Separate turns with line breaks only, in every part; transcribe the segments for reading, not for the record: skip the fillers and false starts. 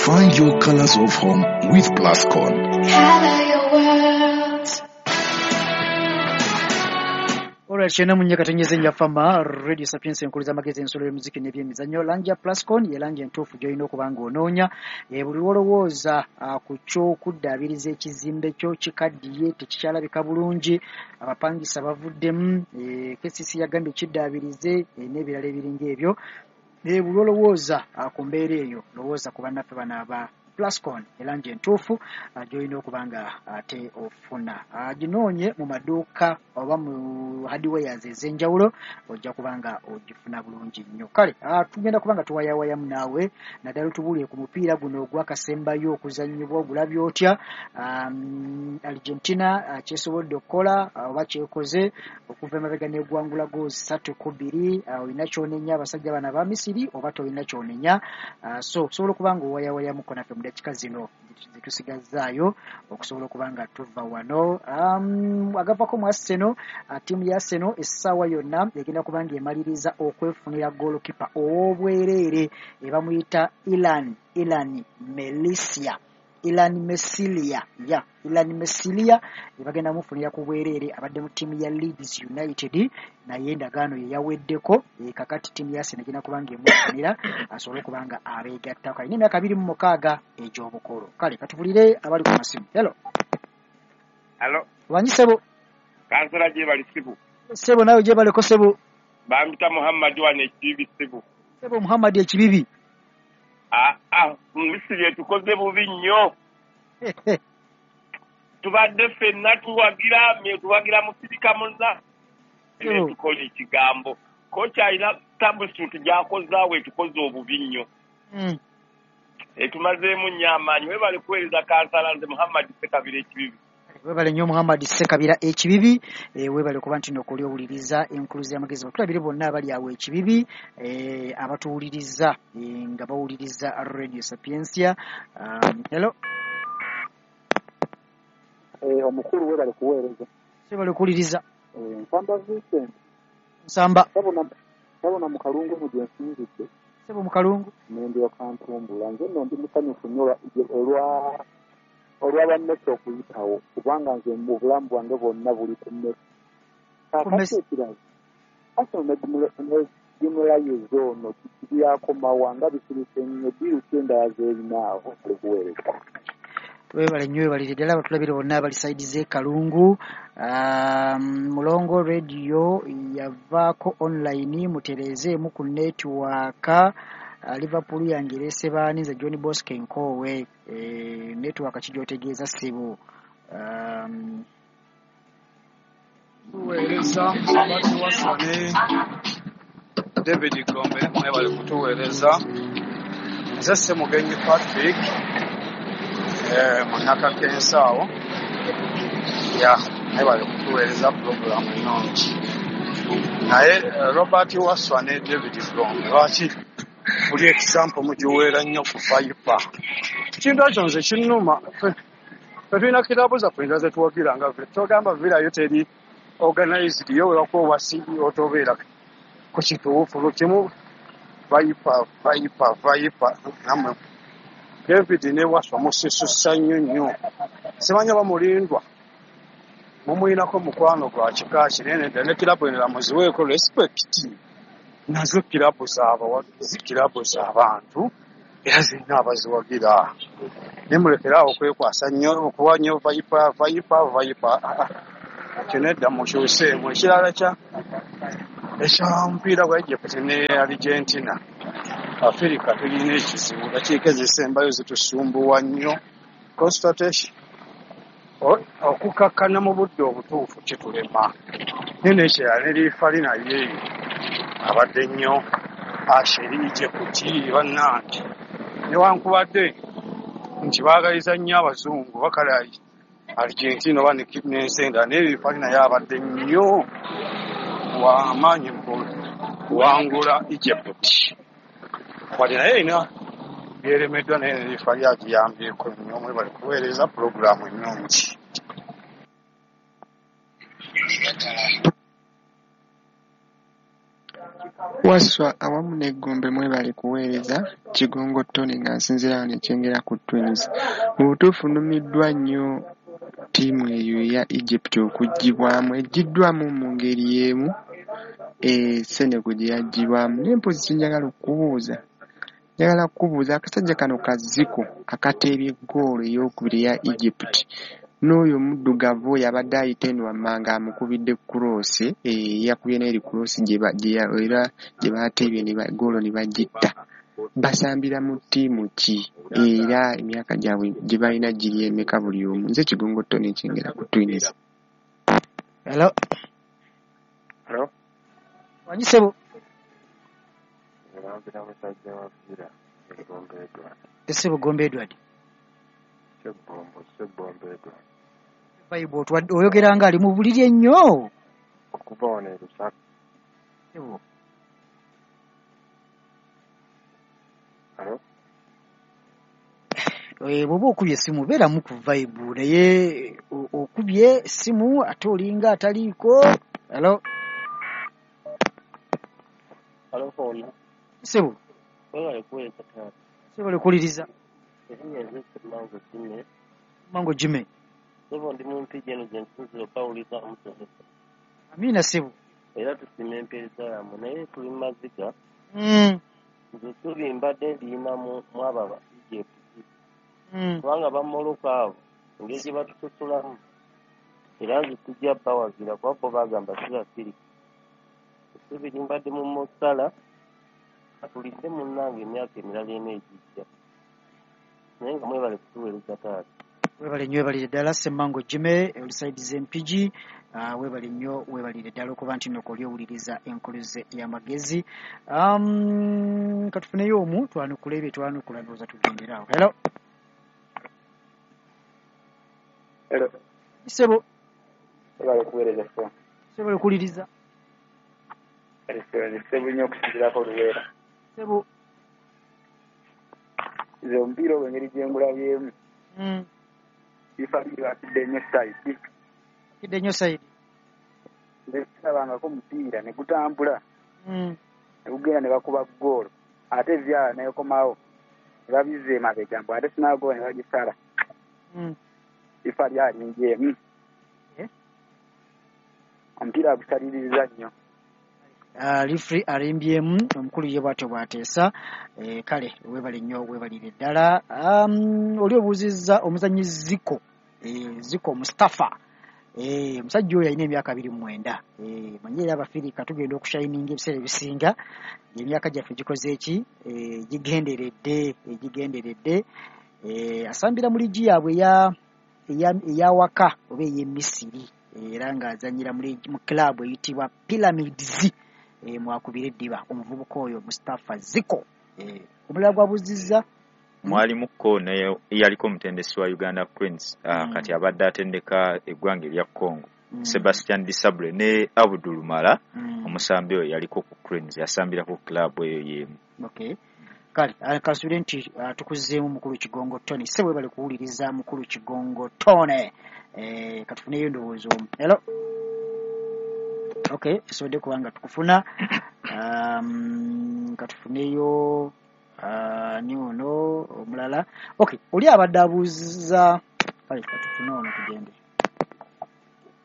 Find your colors of home with Plascon.
Color your world.
Olwa kyenda mu nyakatonyeze njafama Radio Sapiens enkulu z'amagezi ensolo y'omuziki n'ebyemizannyo. Langi ya Plascon ye langi entuufu gy'olina okuba ng'onoonya. Buli lw'olowooza ku ky'okuddaabiriza ekizimbe kyo kikaddiye, tekikyalabika bulungi, abapangisa bavuddemu, KCC yagambye kiddaabirize, n'ebirala ebiringa ebyo. Buli lw'olowooza ku mbeera eyo, lowooza ku bannaffe bano aba Plascon, erangi entuufu gy'olina okuba nga ate ofuna. Ginoonye mu maduuka oba mu hardwares ez'enjawulo, ojja kuba nga ogifuna bulungi nnyo. Kale tugenda kuba nga tuwayawayamu naawe, naddala otubuulire ku mupiira guno ogwakasembayo okuzannyibwa, ogulabye otya? Argentina kyesobodde okukola oba kyekoze okuva emabega n'egwangula goals 3-2. Olina ky'onenya abasajja bano aba Misiri oba tolina ky'onenya? So osobola okuba nga owayawayamuko naffe mu dakiika zino zetusigazzaayo okusobola okuba nga tuva wano. Agavako mu Arsenal, ttiimu ya Arsenal essaawa yonna egenda kuba nga emaliriza okwefunira goalkeeper ow'obwereere ebamuyita Ilan Melisia. Ilan Mesilia, ya Ilan Mesilia ebagenda mufunira ku bwereere, abadde mu ttiimu ya Leeds United naye endagaano ye yaweddeko. Kakati ttiimu ya Arsenal egenda kuba nga emufunira asobole okuba nga abeegattako. Alina emyaka 26 egy'obukulu. Kale katubulire abali ku masimu. Hello.
Hello.
Wanyi sebo.
Kansala gyebali sibu.
Sebo nawe gyebaleko sebo.
Bampita Muhammad wano ekibibi sibu.
Sebo Muhammad ekibibi.
Misiri etukoze bubi nnyo. Tubadde ffenna tuwagira Mufirika munna. Tukola ekigambo. Kocha alina substitute gy'akozaawo etukoze obubi nnyo. Etumazeemu nnyo amaanyi. Webale kuweereza kansala, nze Muhammad Ssekabira ekibibi.
Webale nnyo Muhammad Ssekabira ekibibi. Webale kuba nti nokoli owuliriza enkuluzi y'amagezi. Batulabire bonna abali awo ekibibi, abatuwuliriza nga bawuliriza Radio Sapientia. Hello.
Omukulu webale kuweereza.
Webale kuwuliriza.
Nsamba Vincent.
Nsamba.
Sabona mu Kalungu mu gye nsinzidde.
Sebo mu Kalungu.
Nendyoka ntumbula. Nze nno ndi musanyufu nnyo olwa bannesi okuyitawo, kubanga nze mu bulamu bwange bwonna buli ku mmesi. Kaakati ekirala, Arsenal ne Gimulayizi ono byakomawa nga bisirise nnyo, ddiiru ki endala z'erinaawo ali kuweereza.
Webale nnyo, webalire ddala abatulabire bonna abali sayidi z'e Kalungu. Mulongo Radio yavaako online, mutereezeemu ku netiwaaka. Liverpool yange ereese baani? Nze John Bosco Nkoowe. Netiwaaka ki gy'otegeeza ssebo?
Tuweereza Robert Wasswa ne David Gombe, mwebale kutuweereza. Nze Ssemugenyi Patrick, munnakakensa awo. Ya, mwebale kutuweereza pulogulaamu ennungi. Naye Robert Wasswa ne David Gombe, lwaki buli example mugiweera nnyo ku Viper? Ekintu ekyo nze kinnuma. Ffe tulina kirabo zaffe endala ze tuwagira nga togamba Villa yo teri organized, yo webakuwa obwa CEO tobeera ku kituufu kimu. Viper, Viper, Viper nammwe David ne Wasswa musisussa nnyo nnyo. Simanyi oba mulindwa mumuyinako mukwano gwa kika kinene ddala, ne kirabu endala muziweeko respect. Nazo kirabu z'abawagizi, kirabu z'abantu era zirina abaziwagira. Naye mulekere awo okwekwasa nnyo, okuwa nnyo Viper, Viper, Viper. Kyo nedda mukyuseemu. Ekirala ekya mupiira gwa Egypt ne Argentina, Afirika tulina ekizibu, dakiika ezisembayo zitusumbuwa nnyo. Consultation okukakkana mu budde obutuufu kitulema. Naye n'ekirala ne liifali naye abadde nnyo Asheri Egypt bannange, newankubadde nti baagaliza nnyo abazungu bakala Argentina oba n'ensi endala, naye liifali naye abadde nnyo w'amaanyi mu kuwangula Egypt. Wadde naye erina byeremeddwa, naye ne liifali agiyambyeko nnyo. Mwebale kuweereza pulogulaamu ennungi.
Wasswa awamu n'eggombe mwebale kuweereza Kigongo Tonny nga nsinziira wano e Kyengera ku Twins. Mu butuufu nnumiddwa nnyo ttiimu eyo eya Egypt okuggyibwamu. Eggyiddwamu mu ngeri y'emu Senegal gye yaggyibwamu. Naye mpozzi kye njagala okukubuuza, njagala kukubuuza akasajja kano ka Zico akateebye ggoolo eyookubiri eya Egypt n'oyo omuddugavu oyo abadde ayita eno wammanga amukubidde cross, yakubye n'eri cross era gye baateebye ggoolo ne bagitta. Basambira mu ttiimu ki era emyaka gyabwe gye balina giri emeka buli omu? Nze Kigongo Tonny e Kyengera ku Twins.
Hello.
Hello.
Wangi ssebo.
Mulangira musajja wa Villa e Gombe Edward.
Ssebo Gombe Edward.
Ssebbombo Edward.
Vibe otwadde oyogera nga ali mu buliri ennyo.
Okuva wano e Lusaka.
Ssebo.
Hello.
Bw'oba okubye essimu beeramu ku vibe naye okubye essimu ate olinga ataliiko. Hello.
Hello, Paul.
Ssebo.
Webale kuweereza taata.
Ssebo lekuwuliriza.
Erinnya nze Ssemango Jimmy.
Ssemango Jimmy.
Ssebo ndi mu Mpigi eno gye nsinziira okubawuliriza musomesa.
Amiina ssebo.
Era tusiima empeereza yammwe naye tuli mu maziga. Nze essuubi mbadde ndiyina mu abo aba Egypt. Kubanga bamoloka abo engeri gye batusosolamu era nze sijja bawagira kuba bo bagamba si Bafirika. Essuubi limbadde mu Mo Salah atulinde munnange emyaka emirala ena egijja. Naye nga mwebale kutuweereza taata.
Webale nnyo webalire ddala Ssemmango Jimmy oli side z'Empigi. Webale nnyo webalire ddala okuba nti nno oli owuliriza enkuluze y'amagezi. Katufuneyo omu twanukule ebyo twanukula ndowooza tugendere awo. Hello.
Hello.
Ssebo.
Webale kuweereza ssebo.
Ssebo lekuwuliriza.
Ssebo nnyo okusinziirako Luweera.
Ssebo.
Nze omupiira ogwo engeri gye ngulabyemu. Bifa bibakidde nnyo sayidi.
Kidde nnyo sayidi.
Nze sirabangako omupiira ne gutambula. Ne gugenda ne bakuba ggoolo ate ebyala n'ekomawo ne babizza emabega mbu ate sinaagoba ne bagisala. Bifa lyalingyemu. Omupiira agusaliriza nnyo.
Referee alimbyemu omukulu ye bw'atyo bw'ateesa. Kale weebale nnyo weebalire ddala. Oli obuuzizza omuzannyi Zico, Zico Mustafa. Omusajja oyo alina emyaka 29. Manyi era Abafirika tugenda okushayininga ebiseera ebisinga emyaka gyaffe gikoze eki gigenderedde. Asambira mu liigi yaabwe eya waka oba ey'e Misiri era ng'azannyira mu club eyitibwa Pyramids. Mwakubira eddiba omuvubuka oyo Mustafa Zico. Omulala gw'abuuzizza
mwalimukko naye yaliko omutendesi wa Uganda Cranes, kati abadde atendeka eggwanga erya Congo, Sebastian Desabre ne Abdul Mala, omusambi oyo yaliko ku Cranes, yasambirako club eyo y'emu.
Okay. Kale kansuubire nti tukuzzeemu mukulu Kigongo Tony. Ssebo webale kuwuliriza mukulu Kigongo Tony. Katufuneyo endowooza omu. Hello. Okay, tusobodde kuba nga tukufuna. Katufuneyo ni ono omulala. Okay, oli abadde abuuza. Kale katufune ono tugende.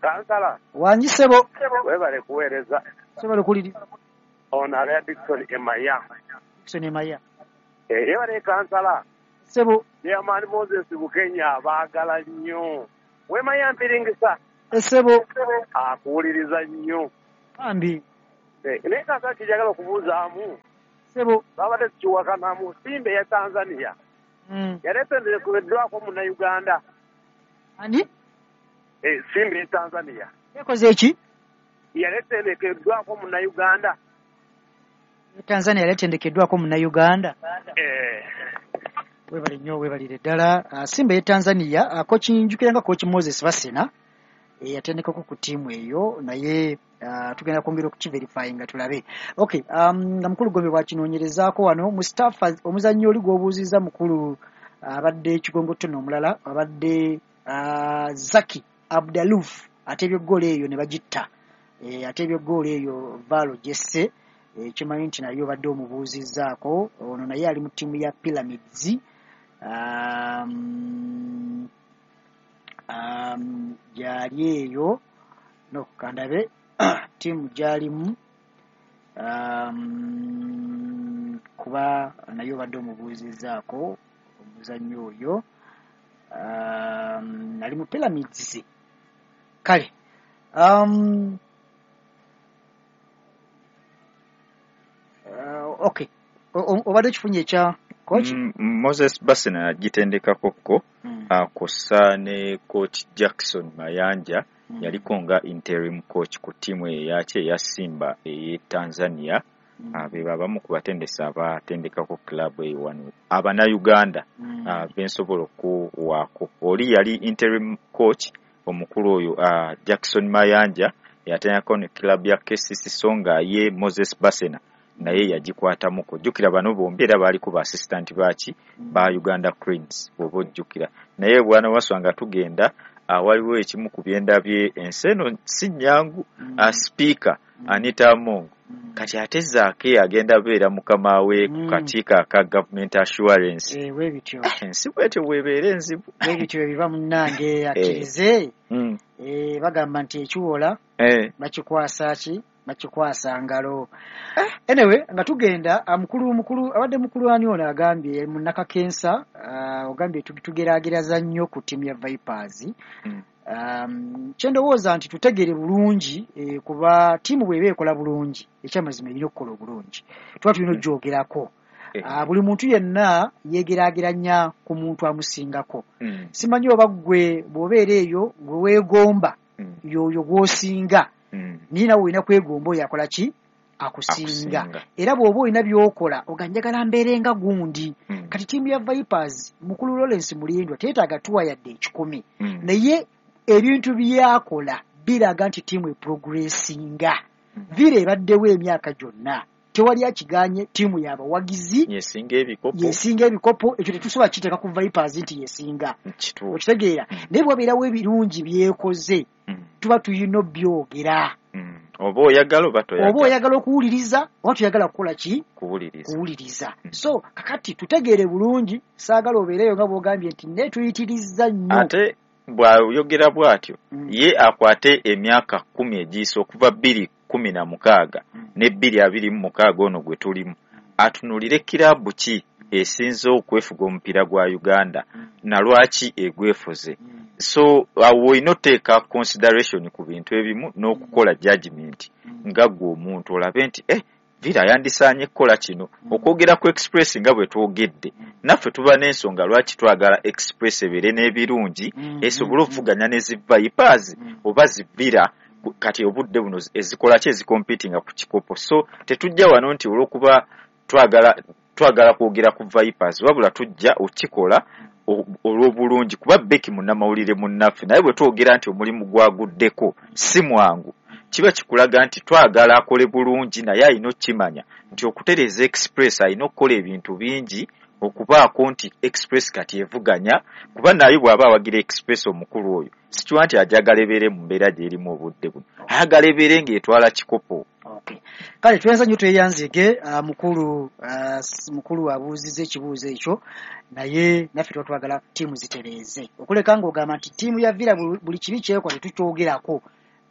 Kansala.
Wangi ssebo.
Webale kuweereza.
Ssebo lekuwuliriza.
Ono abeera Dickson Emaya.
Dickson Emaya.
Yebale kansala.
Ssebo.
Chairman Moses Bukenya abaagala nnyo. Wemaya mpiringisa.
Ssebo.
Akuwuliriza nnyo.
Bambi.
Naye kansala kijagala okubuuzaamu.
Ssebo.
Babadde tukiwakanamu Simba eya Tanzania. Yali etendekeddwako Munnayuganda.
Ani?
Simba eya Tanzania.
Yakoze eki?
Yali etendekeddwako Munnayuganda.
Tanzania yali etendekeddwako Munnayuganda. Weebale nnyo weebalire ddala. Simba eya Tanzania kochi njukira nga kochi Moses Basena yatendekako ku ttiimu eyo naye tugenda kwongera okukiverifyinga tulabe. Okay, nga mukulu Gombe bw'akinoonyerezaako wano Mustafa omuzannyi oli gw'obuuzizza mukulu abadde Kigongo Tony omulala abadde Zaki Abdaluf ateebye ggoolo eyo ne bagitta. Ateebye ggoolo eyo Valo Jesse Kimanyi nti naye obadde omubuuzizzaako, ono naye ali mu ttiimu ya Pyramids, gyali eyo, no kandabe ttiimu gyalimu, kuba naye obadde omubuuzizzaako omuzannyi oyo, ali mu Pyramids. Kale okay, obadde okifunye ekya coach?
Moses Basena yagitendekako ko, kw'ossa ne coach Jackson Mayanja, yaliko nga interim coach ku ttiimu eyo eyaki eya Simba ey'e Tanzania. Be babamu ku batendesi abatendekako club eyo wano Abannayuganda bensobola okuwaako. Oli yali interim coach omukulu oyo Jackson Mayanja yatendekako ne club ya KCC, so nga ye Moses Basena naye yagikwatamuko. Jjukira bano bombi era baaliko ba assistant baaki ba Uganda Cranes bw'oba ojjukira. Naye bwana Waswa nga tugenda, waliwo ekimu ku byendabye, ensi eno si nnyangu. Speaker Anita Among kati ate Zaake agenda beera mukama we ku kakiiko aka Government Assurance.
Bwe bityo.
Ensi bwetyo bw'ebeera enzibu.
Bwe bityo ebiba munnange, akkirize. Bagamba nti ekiwola bakikwasa ki? Bakikwasa ngalo. Anyway, nga tugenda, mukulu abadde mukulu ani ono agambye munnakakensa, ogambye tugeraagereza nnyo ku ttiimu ya Vipers. Kyendowooza nti tutegere bulungi, kuba ttiimu bw'eba ekola bulungi, ekyamazima erina okukola obulungi, tuba tulina okugyogerako. Buli muntu yenna yeegeraageranya ku muntu amusingako. Simanyi oba ggwe bw'obeera eyo gwe weegomba, y'oyo gw'osinga, naye nawe olina kwegomba oyo akola ki? Akusinga.
Akusinga.
Era bw'oba olina by'okola oga njagala mbeere nga gundi. Kati ttiimu ya Vipers, mukulu Lawrence Mulindwa teetaaga tuwa yadde 100, naye ebintu byakola biraga nti ttiimu eprogressinga. Villa ebaddewo emyaka gyonna, tewali akiganye, ttiimu y'abawagizi,
yesinga ebikopo.
Yesinga ebikopo. Ekyo tetusobola kiteeka ku Vipers nti yesinga.
Kituufu.
Okitegeera? Naye bwabeerawo ebirungi byekoze, tuba tulina obyogera.
Oba oyagala oba
oba
toyagala
oyagala okuwuliriza oba toyagala kukola ki?
Kuwuliriza.
Kuwuliriza. So kakati tutegeere bulungi, saagala obeereyo nga bw'ogambye nti naye tuyitirizza nnyo.
Ate bw'ayogera bw'atyo, ye akwate emyaka 10 egiyise okuva 2016 ne 2026 ono gwe tulimu, atunulire kiraabu ki esinze okwefuga omupiira gwa Uganda na lwaki egwefuze. So awo olina oteeka consideration ku bintu ebimu n'okukola judgment nga ggwe omuntu olabe nti Villa yandisaanye kukola kino. Okwogera ku Express nga bwe twogedde, naffe tuba n'ensonga lwaki twagala Express ebeere n'ebirungi, esobole okuvuganya ne zi Vipers oba zi Villa kati obudde buno ezikola ki, ezicompetinga ku kikopo. So tetujja wano nti olw'okuba twagala kwogera ku Vipers, wabula tujja okikola olw'obulungi kuba Becky munnamawulire munnaffe. Naye bwe twogera nti omulimu gwaguddeko si mwangu, kiba kikulaga nti twagala akole bulungi, naye alina okukimanya nti okutereeza Express alina okukola ebintu bingi okubaako nti Express kati evuganya, kuba naye bw'aba awagira Express omukulu oyo sikiwa nti ajagala ebeere mu mbeera gy'erimu obudde buno, ayagala ebeere ng'etwala kikopo.
Okay. Kale tweyanza nnyo, tweyanzige, mukulu, mukulu abuuzizza ekibuuzo ekyo, naye naffe tuba twagala ttiimu zitereeze, okuleka ng'ogamba nti ttiimu ya Villa buli kibi kyekola tetukyogerako,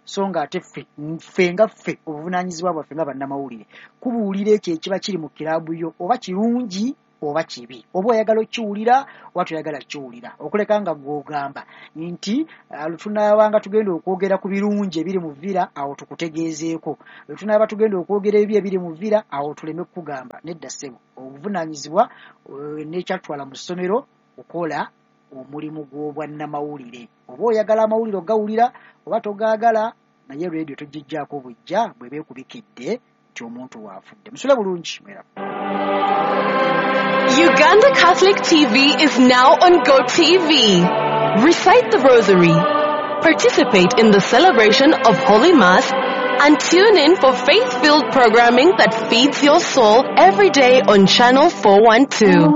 so nga ate ffe nga ffe obuvunaanyizibwa bwaffe nga bannamawulire kubuulira ekyo ekiba kiri mu kiraabu yo, oba kirungi oba kibi, oba oyagala okkiwulira oba toyagala kkiwulira, okuleka nga gw'ogamba nti lutunaabanga tugenda okwogera ku birungi ebiri mu Villa awo tukutegeezeeko, lutunaaba tugenda okwogera ebibi ebiri mu Villa awo tuleme kukugamba. Nedda ssebo, obuvunaanyizibwa n'ekyatutwala mu ssomero kukola omulimu gw'obwannamawulire, oba oyagala amawulire ogawulira oba togaagala, naye rediyo togijjaako bujja bw'eba ekubikidde nti omuntu waafudde. Musule bulungi, mwera.
Uganda Catholic TV is now on GoTV. Recite the Rosary, participate in the celebration of Holy Mass, and tune in for faith-filled programming that feeds your soul every day on Channel 412.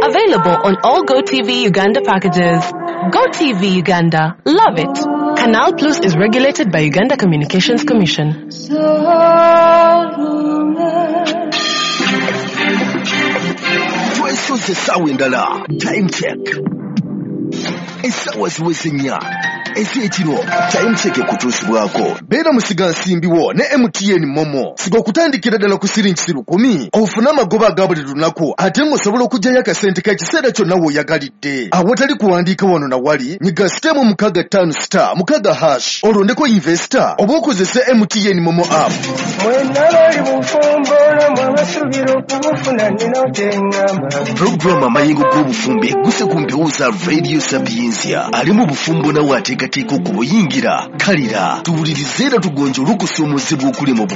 Available on all GoTV Uganda packages. GoTV Uganda. Love it. Canal Plus is regulated by Uganda Communications Commission.
Twesoze essaawa endala. Time check, essaawa ziweze 4 ez'ekiro. Time check ekutuusibwako beera musigansimbiwo ne MTN Momo. Siga okutandikira ddala ku siringi 1,000 ofune amagoba aga buli lunaku, ate ng'osobola okuggyayo akasente k'ekiseera kyonna w'oyagalidde awatali kuwandiika wano na wali. Nyiga *656*6# olondeko investor oba okozese MTN Momo app.
Mwenna bali bufumbo namwe abasuubira okubufuna nina kyeŋŋamba.
Pulogulaamu Amayengo g'Obufumbo egguse ku mpewo za Radio Sapiensia. Ali mu bufumbo nawe ateekateeka okubuyingira, kalira tuwulirize era tugonjole okusoomozebwa okuli mu